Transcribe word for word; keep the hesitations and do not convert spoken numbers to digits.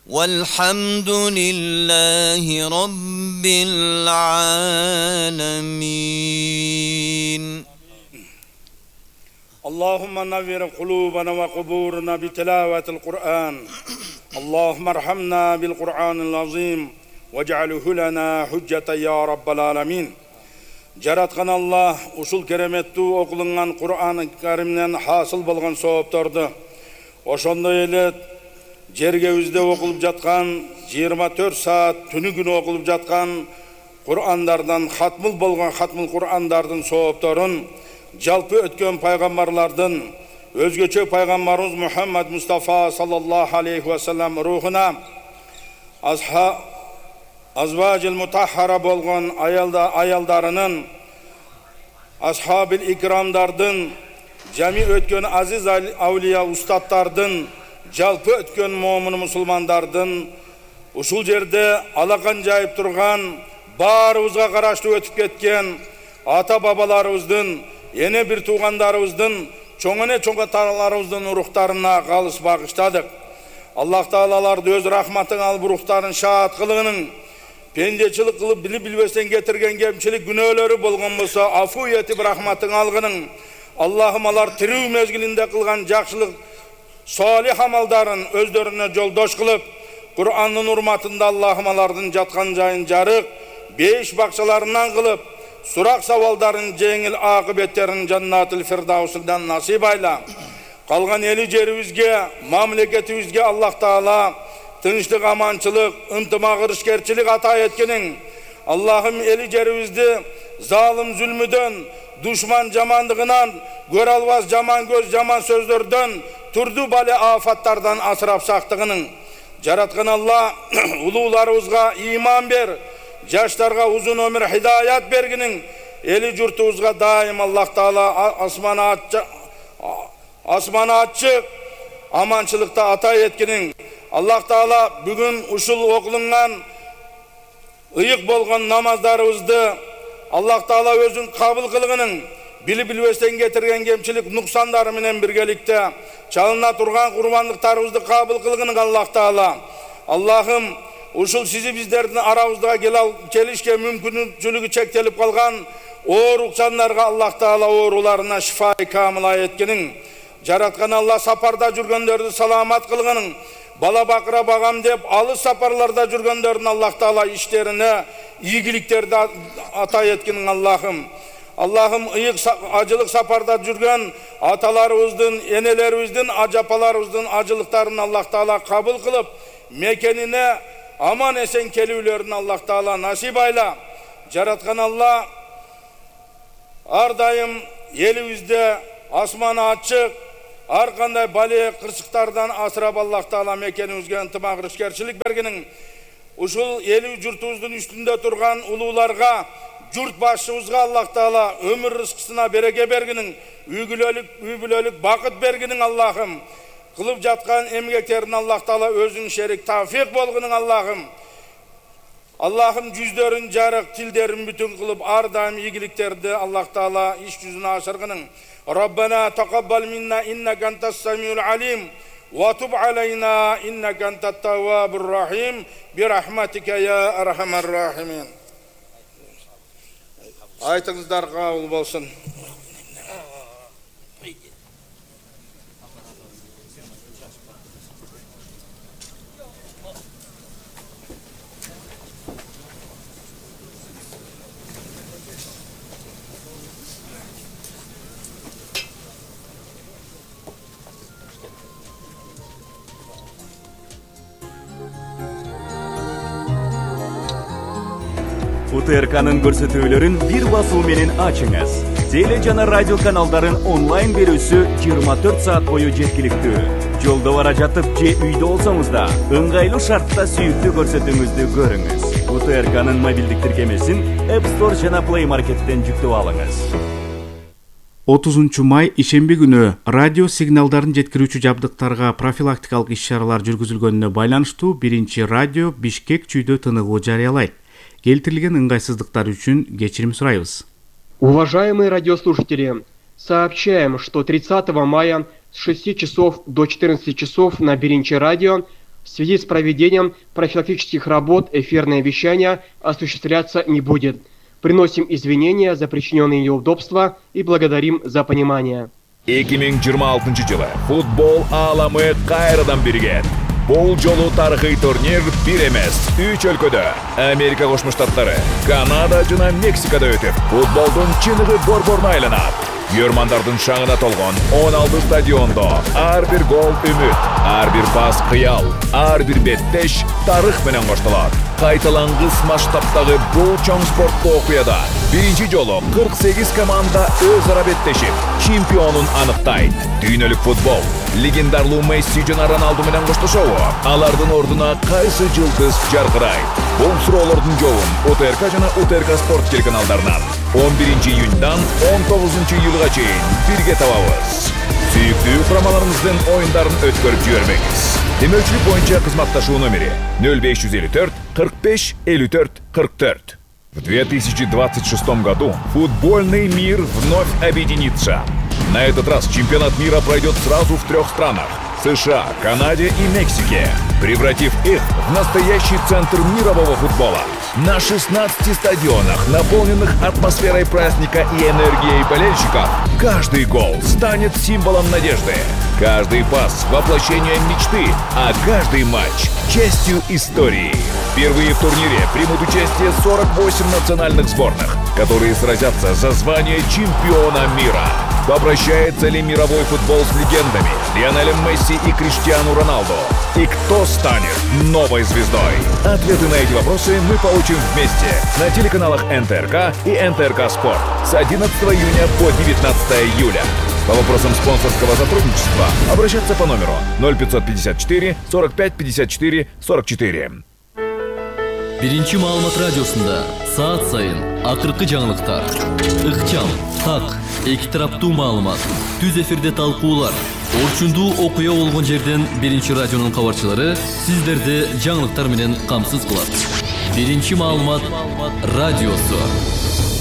والحمد لله رب العالمين. اللهم نور قلوبنا وقبورنا بتلاوة القرآن. اللهم ارحمنا بالقرآن العظيم واجعله لنا حجة يا رب العالمين. Жараткан Аллах ушул кереметтүү окулунган Кур'ан Каримден хасыл болгон соопторду ошондой эле жергебизде окулуп жаткан жыйырма төрт саат түнү күнү окулуп жаткан Кур'андардан хатмыл болгон хатмыл Кур'андардын соопторун жалпы өткөн пайгамбарлардын өзгөчө пайгамбарыбыз Мухаммад Мустафа саллаллаху алейхи ва саллям рухуна азха Азважил мутаххара болгон аялда аялдарынын асхабил икрамдардын жами өткөн азиз аулия устаттардын жалпы өткөн момун мусулмандардын ушул жерде алакан жайып турган баарыбызга караштуу өтүп кеткен ата бабаларыбыздын эне бир туугандарыбыздын чоң эне чоң аталарыбыздын рухтарына калыс багыштадык. Аллах таалаларды өз рахматың алып рухтарын шаат кылгынын пендечилик кылып билип билбестен кетирген кемчилик күнөөлөрү болгон болсо афу этип рахматың алгынын. Аллахым алар тирүү мезгилинде кылган жакшылык салих амалдарын өздөрүнө жолдош кылып, Кур'андын урматында Аллахым алардын жаткан жайын жарык, беш бакчаларынан кылып, сурак сабалдарын жеңил акыбеттерин жаннатыл фирдаусундан насип айла. Калган эли жерибизге, мамлекетибизге Аллах Таала тынчтык, аманчылык, ынтымак, ырышкерчилик ата эткенин. Аллахым эли жерибизди залым зүлмүдөн, душман жамандыгынан, көрө албас жаман көз, жаман сөздөрдөн, турду бале афаттардан асырап сактыгынын. Жараткан Аллах улууларыбызга иман бер, жаштарга узун өмүр хидаят бергинин. Эли журтубузга дайым Аллах Таала асманы асманы ачык, аманчылыкта ата эткенин. Аллах Таала бүгүн ушул окулунган ыйык болгон намаздарыбызды Аллах Таала өзүн кабыл кылгынын, билип билбестен кетирген кемчилик нуксандары менен биргеликте чалына турган курбандыктарыбызды кабыл кылгынын Аллах Таала. Аллахым ушул сизи биздердин арабызга келишке мүмкүнчүлүгү чектелип калган оорукчандарга Аллах Таала ооруларына шифа камила эткенин. Жараткан Аллах сапарда жүргөндөрдү саламат кылгынын. Бала бакыра багам деп алыс сапарларда жүргөндөрдүн Аллах Таала иштерине ийгиликтерди ата эткенин Аллахым. Аллахым ыйык ажылык сапарда жүргөн аталарыбыздын, энелерибиздин, ажапаларыбыздын ажылыктарын Аллах Таала кабыл кылып, мекенине аман эсен келүүлөрүн Аллах Таала насип айла. Жараткан Аллах ар дайым элибизде асманы ачык, ар кандай бале кырсыктардан асырап Аллах Таала мекенибизге ынтымак, ырышкерчилик бергенин. Ушул эли журтубуздун үстүндө турган улууларга, журт башчыбызга Аллах Таала өмүр рызкысына береке бергенин, үй-бүлөлүк, үй-бүлөлүк бакыт бергенин Аллахым. Кылып жаткан эмгектерин Аллах Таала өзүң шерик тавфик болгонун Аллахым. Аллахым жүздөрүн жарык, тилдерин бүтүн кылып, ар дайым ийгиликтерди Аллах Таала иш жүзүнө ашыргынын. ربنا تقبل منا إنك أنت السميع العليم وتب علينا إنك أنت التواب الرحيم برحمتك يا أرحم الراحمين. Aytыңыздар кабыл болсун. УТРКнын көрсөтүүлөрүн бир басуу менен ачыңыз. Теле жана радио каналдарын онлайн берүүсү жыйырма төрт саат бою жеткиликтүү. Жолдо бара жатып же үйдө болсоңуз да ыңгайлуу шартта сүйүктүү көрсөтүүңүздү көрүңүз. УТРКнын мобилдик тиркемесин App Store жана Play Market'тен жүктөп алыңыз. отузунчу май ишемби күнү радио сигналдарын жеткирүүчү жабдыктарга профилактикалык иш-чаралар жүргүзүлгөнүнө байланыштуу биринчи радио Бишкек чүйдө тыныгуу жарыялайт. Келтирилген ыңгайсыздыктар үчүн кечирим сурайбыз. Уважаемые радиослушатели, Сообщаем, что тридцатого мая с шести часов до четырнадцати часов на Биринчи радио в связи с проведением профилактических работ эфирное вещание осуществляться не будет. Приносим извинения за причиненные неудобства и благодарим за понимание. эки миң жыйырма алтынчы жылы футбол ааламы кайрадан биригет. Бул жолу тарыхый турнир бир эмес, үч өлкөдө Америка Кошмо Штаттары, Канада жана Мексикада өтүп, футболдун чыныгы борборуна айланат. Көрмандардын шаңына толгон он алты стадиондо ар бир гол үмүт, ар бир пас кыял, ар бир беттеш тарых менен коштолот. Кайталангыс масштабтагы бул чоң спорттуу окуяда биринчи жолу кырк сегиз команда өз ара беттешип, чемпионун аныктайт. Дүйнөлүк футбол легендарлуу Месси жана Роналду менен коштошобу? Алардын ордуна кайсы жылдыз жаркырайт? Бул суроолордун жообун УТРК жана УТРК спорт телеканалдарынан он биринчи июньдан он тогузунчу июлга чейин бирге табабыз. Сүйүктүү курамаларыңыздын оюндарын өткөрүп жибербеңиз. Демөүчүлүк боюнча кызматташуу номери ноль беш жүз элүү төрт кырк беш элүү төрт кырк төрт. В две тысячи двадцать шестом году футбольный мир вновь объединится. На этот раз чемпионат мира пройдет сразу в трех странах – США, Канаде и Мексике, превратив их в настоящий центр мирового футбола. На шестнадцати стадионах, наполненных атмосферой праздника и энергией болельщиков, каждый гол станет символом надежды. Каждый пас – воплощение мечты, а каждый матч – частью истории. Впервые в турнире примут участие сорок восемь национальных сборных, которые сразятся за звание чемпиона мира. Попрощается ли мировой футбол с легендами Лионелем Месси и Криштиану Роналду? И кто станет новой звездой? Ответы на эти вопросы мы получим вместе на телеканалах эн тэ эр ка и эн тэ эр ка Спорт с одиннадцатого июня по девятнадцатое июля. По вопросам спонсорского сотрудничества обращаться по номеру ноль пятьсот пятьдесят четыре сорок пять пятьдесят четыре сорок четыре. Биринчи маалымат радиосунда саат сайын акыркы жаңылыктар, ыкчам, так, эки тараптуу маалымат, түз эфирде талкуулар, орчундуу окуя болгон жерден Биринчи радионун кабарчылары сиздерди жаңылыктар менен камсыз кылат. Биринчи маалымат радиосу.